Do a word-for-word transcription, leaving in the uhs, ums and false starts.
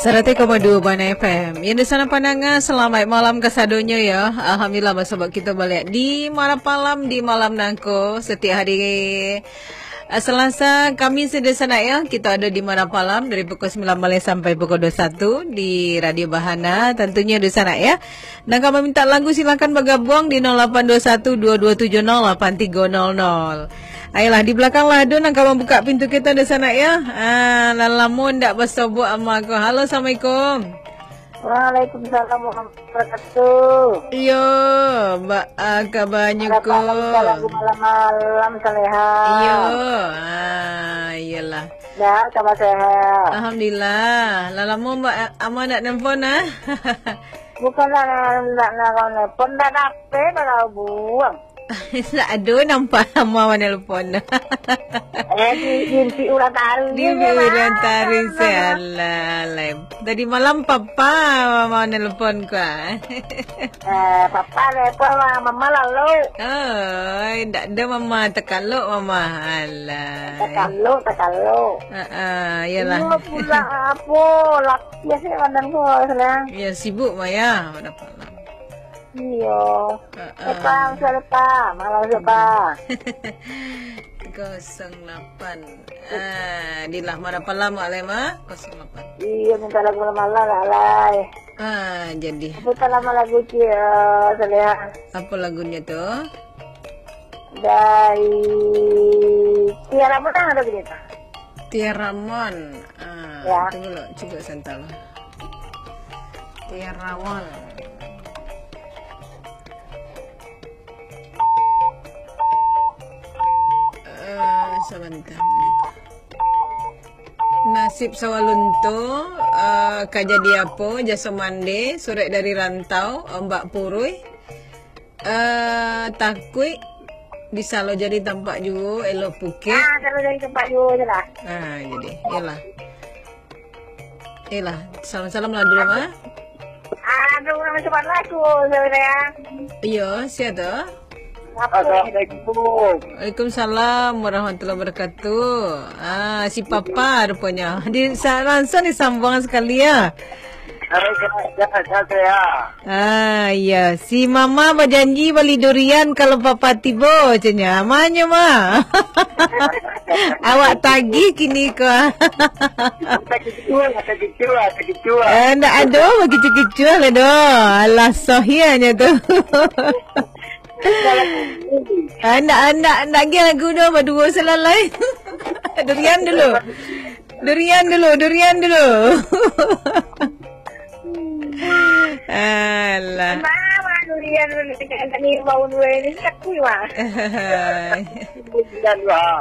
Saratus koma duo Bana F M. Yo, dunsanak pandanga, salamaik malam kasadonyo, yo. Alhamdulillah, basobok kito baliak di malam malam, di malam nangko, satiok hari, eh, Salasa, Kamis, dunsanak, yo. Kito ado di malam malam dari pukul sambilan malam sampai pukul duo satu di Radio Bahana. Tantunyo, dunsanak, yo. Nan ka mamintak lagu, silakan bagabuang di nol lapan dua satu dua dua tujuh nol lapan tigo nol nol. Ayolah, di balakang lah ado nan ka mambukak pintu kito, dunsanak, yo. Ah, lah lamo ndak basobok ama ko. Halo, assalamualaikum. Waalaikumsalam warahmatullahi wabarakatuh. Iyo, ba-, ah, kabanyo ko? Malam-malam, Saleha. Iyo, ah, iyolah. Dah, kaba sehat? Alhamdulillah. Lah lamo, Mbak, ama ndak nelpon, ah? Bukan ndak, ndak, ndak, ndak nelpon, ndak dapek, ndak buang. Ndak ado nampak ama manelpon. Eh, di, di, di urang tari. Di urang tari, salah, alai. Tadi malam papa manelpon ko, ah. Eh, papa nelpon, mama lalu. Oi, ndak ado mama, takalok mama. Alah. Takalok, takalok. Ha, iyolah. Iyo pula, apo, laki se badan ko, Saleha. Iyo, sibuk, Maya. Iyo. Heeh. Epa, Ustaz Epa. Malam Ustaz Epa. Kosong lapan. Ah, di lah, mana pala, Mak Lema? Kosong lapan. Iyo, minta lagu malam-malam lah, Lai. Ah, jadi. Apo ta lamo lagu, Cik, eh, Saleha? Apo lagunyo tu? Dari Tiara Ramon ado lagu tu? Tiara Ramon. Ah, ya. Tunggu lo, cubo santa lo. Tiara Ramon. Eh, sabanta. Nasib Sawalunto, eh, Ka Jadi Apo, Jaso Mande, Surek dari Rantau, Ombak Purui, eh, Takuik, Di Salo Jadi Tampak Juo, Elo Pukek. Ah, Salo Jadi Tampak Juo je lah. Ah, jadi, iyolah. Iyolah, salam-salam lah dulu, ah. Ah, ada orang macam mana aku, Saleha? Iyo, sia tu? Assalamualaikum. Waalaikumsalam warahmatullahi wabarakatuh. Ah, si Papa rupanya. Di, sa-, langsung disambuang sakali, yo. Hai, sehat, sehat, sehat, sehat. Ah, iyo. Si Mama bajanji bali durian kalau Papa tibo, caknyo. Amanyo, Ma? Awak tagih kini ko. Kicuah, kicuah, kicuah. Eh, ndak ado, kicuah-kicuah lah doh. Alah, sohianyo tu. Ah, ndak, ndak, ndak agiah lagu doh, baduo salalai. Durian dulu. Durian dulu, durian dulu. Alah. Mama, durian dulu, tadi bau dua ini, sakit, Mak. Durian, Mak.